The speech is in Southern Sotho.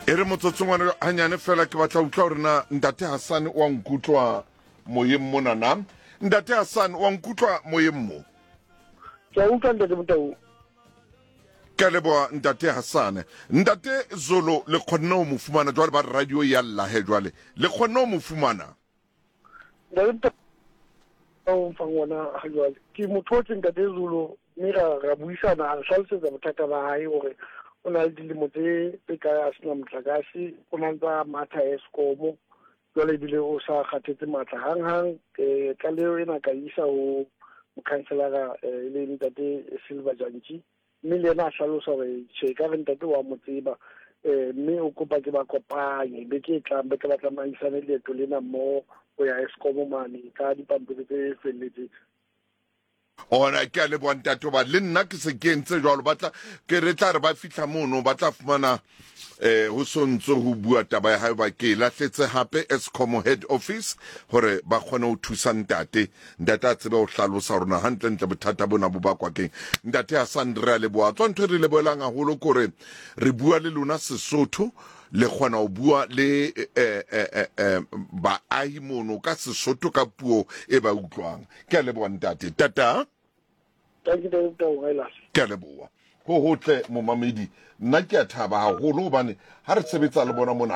E re motsotsongwana hanyane fela ke batla utlwa hore na Ntate Hassan wa nkutlwa moyeng mona na. Ntate Hassan wa nkutlwa moyeng mo? Ke a utlwa Ntate Motau. Ke a leboha Ntate Hassan. Ntate Zolo le kgonne ho mo fumana jwale ba re radio ya lla he jwale. Le kgonne ho mo fumana? Ntate o mfang ona ha jwale. Ke mo thotse Ntate Zulu mme ra ra buisana a nhlalosetsa bothata ba hae hore o na le dilemo tse tse kae a sena motlakase, o na ntsa matha Eskom jwale ebile o sa kgathetse matla hang-hang. Eh, tlaleho ena ka isa ho mokhanselara eh, e leng Ntate Silver Jantji mme le yena a hlalosa hore tjhe ka re ntate wa mo tseba um mme o kopa ke ba kopanye beke e tlang be tla ba tsamaisane leeto lena mmoho ho ya Eskom mane ka dipampiri tse felletseng. Ona ke a leboha ntate hoba le nna ke se ke entse jwalo ba tla ke re tla re ba fihla mono ba tla fumana eh ho sontso ho bua taba ya hae ba ke lahletse hape Eskom head office hore ba kgone ho thusa ntate ntate a tsebe ho hlalosa hore na hantle ntle bothata bona bo bakwa keng ntate Hassan re a leboha tswa ntho e re lebohelang haholo kore re bua le lona Sesotho le kgona ho bua le eh, eh, eh, baahi mono ka Sesotho ka puo e ba utlwang ke a leboha ntate tata ke a leboha ho hotle momamedi nna ke a thaba haholo hobane ha re sebetsa le bona mona.